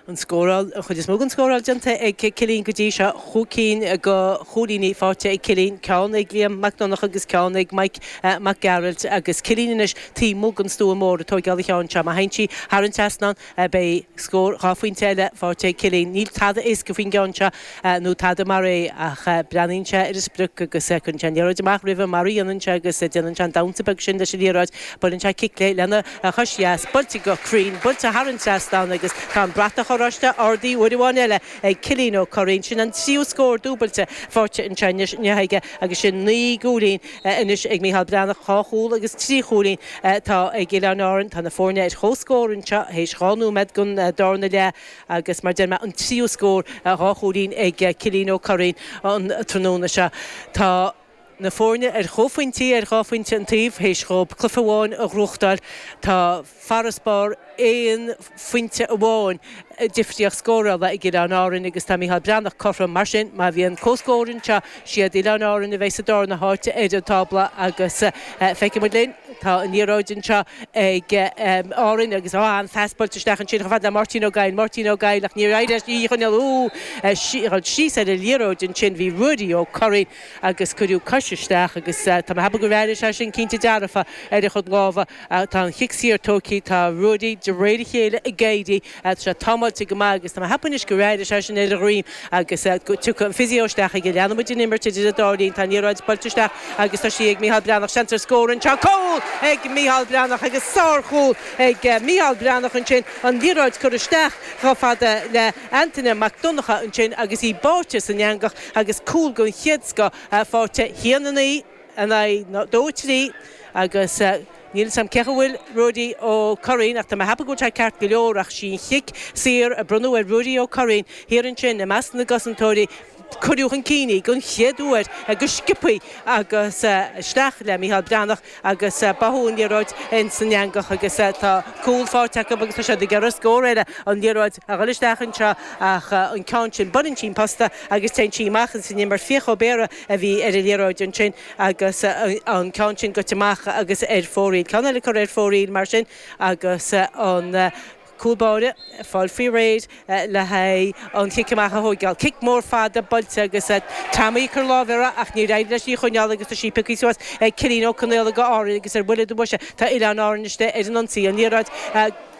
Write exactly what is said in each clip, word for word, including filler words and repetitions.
An scóráil an chuid is mó den scóráil déanta ag Cillín go dtí seo chúig cinn de chúilíní faighte ag Cillín ceann ag Liam Mac Donncha agus ceann ag Mike uh, Mac Gearailt agus Cillín anois taobh amuigh den stua mór ag tógáil an cheann seo má théann sí thar an trasnán uh, beidh scór dhá phointe eile faighte ag Cillín. Níl tada éasca faoin gceann seo uh, nó tada mar é ach uh, breathnaíonn sé ar an sprioc agus uh, cuireann sé an liathróid amach roimhe mar a dhéanann sé agus uh, déanann sé an damhsa beag sin leis an liathróid buaileann sé cic lena uh, chois dheas buailte go cruinn buailte thar an trasnán agus tá an bratach oráiste ardaithe uair amháin eile ag Cillian Ó Curraoin sin an tríú scór dúbailte faighte ansin aige agus sin naoi gcúilín anois ag Mícheál Breathnach dhá chúl agus trí chúilín tá ag Oileáin Árann tá na foirne ar comhscór anseo théis dhá nóiméad den darna leath agus mar deir mé an tríú scór dhá chúilín ag Cillian Ó Curraoin an tráthnóna seo tá na foirne ar chomhphointí ar dhá phointe an taobh théis dóibh cluiche amháin a ghnóthachtáil tá farasbarr aon phointe amháin difríocht scórála ag Oileáin Árann agus tá Mícheál Breathnach cothrom mar sin má bhíonn comhscór anseo siad Oileáin Árann a bheidh sa darna háit ar an tábla agus feicfidh muid linn tá an liathróid anseo ag Árainn agus á an phas buailte isteach ansin chomh fada le Máirtín Ó Gaill Máirtín Ó Gaill ach ní éis í chun síos ar an liathróid ansin bhí Ruairí Ó Curraoin agus cuireadh cois isteach agus tá mé ag ceapadh go raibh sé sin cinnte dearfa ar a chuid lámha tá an chic saor tógtha tá Ruairí de réir a chéile ag éirí sé támáilte go maith agus tá mé ag ceapadh go raibh sé sin ar a dhroim agus tugadh an physio isteach ag leanfaimid an imirt idir an dá linn tá an liathróid buailte isteach agus tá sí ag Mícheál Breathnach seans ar scór anseo cúl ag Mícheál Breathnach agus sárchúl ag Mícheál Breathnach ansin an liathróid curtha isteach chomh fada le Antaine Mac Donncha ansin agus í báite san eangach agus cúl den chéad scoth faighte a haon a naoi in aghaidh dó trí agus Níl sam cecha bhfuil Ruairí Ó Curraoin ach tá mé ag ceapadh go bhfuil sé ceart go leor ach sin chic saor a bronnadh ar Ruairí Ó Curraoin thiar ansin i measc na gcosantóirí cuireadh chun cinn í den chéad uair go sciobtha agus isteach le Mícheál Breathnach agus báthadh an liathróid in san eangach agus tá cúl faighte acu agus tá siad ag iarraidh scór eile an liathróid a dhul isteach anseo ach an ceann sin buaileann sí an posta agus téann sí amach an sin mar Fiach Ó Béarra a bhí ar an liathróid ansin agus an ceann sin goite amach agus ar fóraoil. Ceann eile curtha ar fóraoil mar sin agus an cúl báire fáil faoi réir le haghaidh an chic amach a thógáil. Cic mór fada buailte agus Tommy chur lámh ach ní raibh leis í choinneáil agus tá sí pioctha suas ag Cillian Ó Conaola go Árainn agus ar bhuille do bhoise tá Oileáin Árann istigh ar an ionsaí an liathróid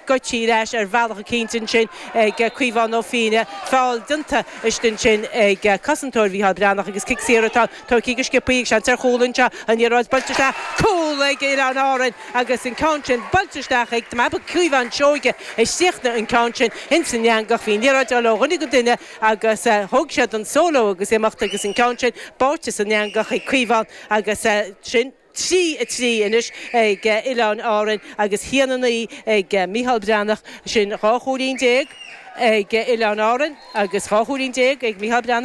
goití leis ar bhealach eicínt ansin ag Caomhán Ó Fiaine feall déanta istigh ansin ag cosantóir Mhícheál Breathnach agus cic saor atá tógtha go sciobtha seans ar chúl anseo an liathróid buailte isteach cúl ag Oileáin Árann agus an ceann sin buailte isteach ag Caomhán Seoige isteach an ceann sin in san eangach bhí an liathróid ó dhuine go duine agus thóg siad an solo agus imeacht agus an ceann sin báite san eangach ag Caomhán agus sin trí a trí anois ag Oileáin Árann agus a haon a naoi ag Mícheál Breathnach sin dhá chúilín déag ag Oileáin Árann agus dhá chúilín déag ag Mícheál Breathnach.